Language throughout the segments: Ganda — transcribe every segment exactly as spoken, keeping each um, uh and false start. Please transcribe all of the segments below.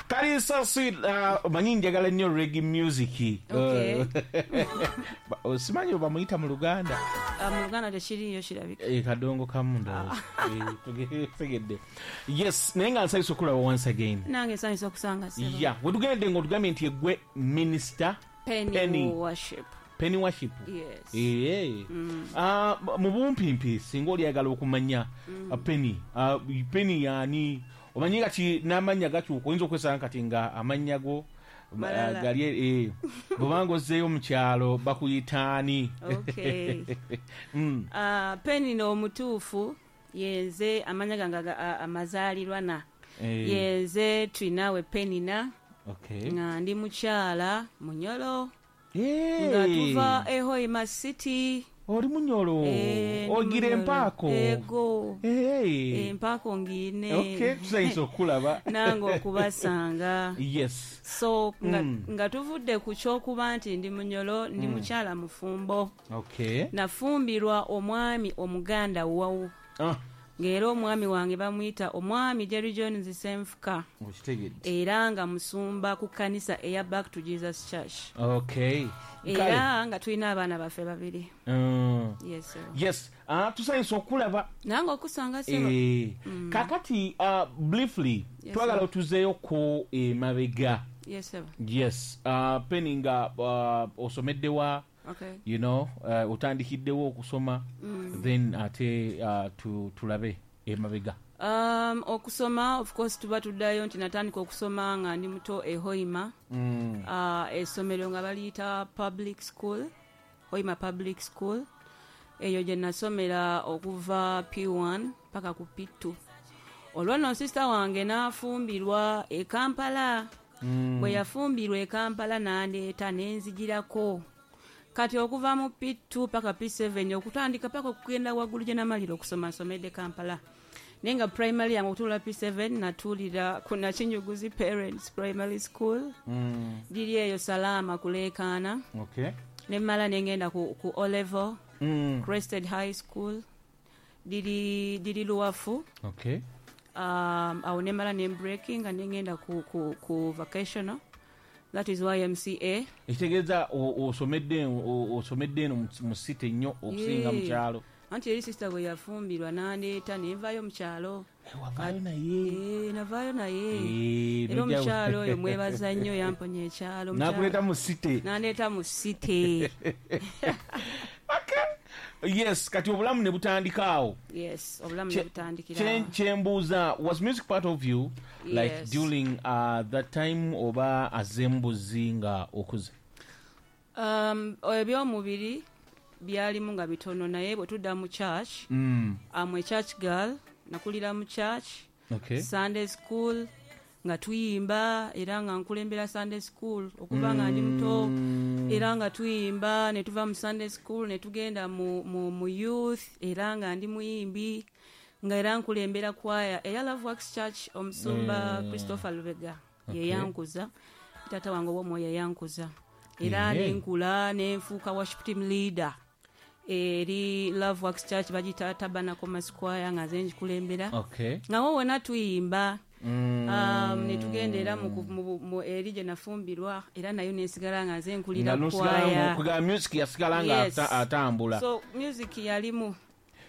Kali so sweet. uh, Omanyi njagala nnyo reggae music. Okay. Uh, simanyi bamuyita mu Luganda. Ah, mu Luganda tekiriyo kirabika. Eh, kadongo kamu ndowooza. Eh, tuge- tegedde. Yes, naye nga nsanyusa okulaba once again. Nange nsanyusa okusanga, ssebo. Yeah, wetugende ng'otugambye nti egwe Minister Penny, Penny. Worship. Penny Worship. Yes. Eh. Ah, mu bumpimpi, singa olyagala okumanya uh, Penny, ah, Penny yani omanyi kati n'amannya gakyuka, oyinza okwesanga kati nga amannya go Malala. ah, gali eh, bw'obanga ozzeeyo mu kyalo bakuyitaani? Okay. Mm. Ah, Penny n'omutuufu yenze, amanya gange aga- a- amazaalirwana Eh, yenze Twinawe Penina, okay. nga ndi mukyala Munyolo, Eh, nga tuva e Hoima City. Oli Munyolo? Eh, ndi Ogira Munyolo. empaako? Ego. Eh. Empaako ngiine. Okay, tusanyusa okukulaba. Nange okubasanga. Yes. So nga, Mm. nga tuvudde ku kyokuba nti ndi Munyolo, ndi mukyala mufumbo. Okay. Nafumbirwa omwami Omuganda wawu, Ah, ng'era omwami wange bamuyita omwami Jerry Jones Senfuka, okitegedde. Era nga musumba ku kkanisa eya Back to Jesus Church. Okay. Era nga tulina abaana baffe babiri. Mm. Yes, sir. Yes, ah, tusanyusa okulaba. Nange okusanga, ssebo. Eh, kakati uh, briefly, Yes, twagala sir. otuzeeyoko emabega. Yes, sir. Yes, uh, Penny, nga uh, osomeddewa? Okay. you know uh, otandikiddewo okusoma, then ate uh, tu, tulabe emabega. um, okusoma of course tuba tuddayo nti natandika okusoma nga ndi muto e Hoima. mm. uh, essomero nga baliyita public school, Hoima Public School. Eyo gye nasomera okuva P one paka ku P two. Olwo nno sister wange n'afumbirwa e Kampala. Mm. Bwe yafumbirwa e Kampala n'andeeta nenzigirako. Kati okuva mu P two paka P seven, okutandika paka okugenda waggulu gye namalira okusoma, nsomedde Kampala. Naye nga primary yange okutuula P seven natuulira ku Nakinyuguzi Parents Primary School. Mm. Giri eyo Salaama kuleekaana. Okay. Nemmala nengenda ku, ku O level, mm. Crested High School, diri, diri Luwafu. Okay. um, awo nemmala nembreaking nga nengenda ku, ku, ku vocational, that is Y M C A. Ekitegeeza o- osomedde o- osomedde eno mu- mu city nnyo okusinga mu Yeah. kyalo. Anti eri sister bwe yafumbirwa nandeeta nenvaayo mu kyalo. Eh, wavaayo naye? Eh, navaayo naye. Eh, Era nojja- omukyalo oyo mwebaza nnyo, yamponya ekyalo. Nakuleeta mu city. Nandeeta mu city. Okay. Yes, kati obulamu ne butandika awo. Yes, obulamu Kye- ne butandikira kye- awo. Kyembuuza, was music part of you like Yes. during uh, that time oba azembuzi nga okuze? um, ebyomubiri byalimu nga bitono, naye bwe tudda mu church, mm. am a church girl, nakulira mu church. okay. Sunday school nga tuyimba, era nga nkulembera Sunday school okuva nga ndi muto. Mm. Era nga tuyimba, ne tuva mu Sunday school ne tugenda mu, mu, mu youth, era nga ndi muyimbi, nga era nkulembera kwaya eya Love Works Church. Omusumba Mm. Christopher Lubega Okay. yeyankuza, taata wange ow'omwoyo yeyankuza, era Yeah. nenkula nenfuuka worship team leader eri Love Works Church, bagiyita Tabernacle Mass Choir, nga nze ngikulembera. Okay. Nga wo wonna tuyimba. Mm. um, netugenda era mu, mu, mu, eri gye nafumbirwa, era nayo nensigala nga nze nkulira Nga nosigala kwaya. nga music yasigala nga Yes. ata- atambula. So music yalimu.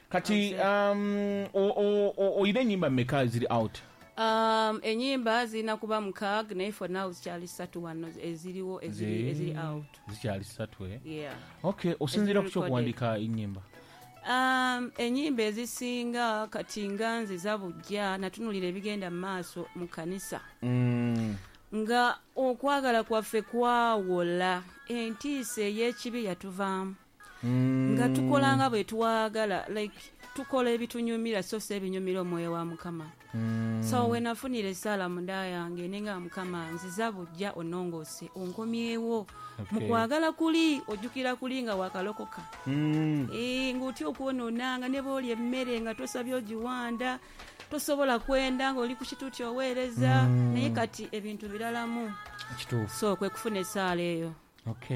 Kati um, o- o- o- oyina ennyimba mmeka eziri out? um, enyimba zirina kuba mukaaga, naye for now zikyali ssatu wano eziriwo, eziri, eziri out. Zikyali ssatu, eh? Yeah. Okay, osinziira ku Eziri kyokuwandika ennyimba? um, enyimba ezisinga kati nga nziza bujja natunulira ebigenda mu maaso mu kanisa, Mm. nga okwagala kwaffe kwawola, entiisa ey'ekibi yatuvaamu, Mm. nga tukola nga bwe twagala, like tukola ebitunyumira so si ebinyumira omwoyo wa Mukama. Mm. So we nafunira essaala munda yange nenga, "Mukama, nziza bujja, onongoose, onkomyewo mu Okay. kwagala kuli." Ojjukira kuli nga wakalokoka, Mm. Eh, ng'otya okwonoonanga, ne boolya emmere nga tosabye ogiwanda, tosobola kwenda ng'oli ku kituuti oweereza. Mm. Naye kati ebintu biralamu. Kituufu. So kwe kufuna essaala eyo. Okay.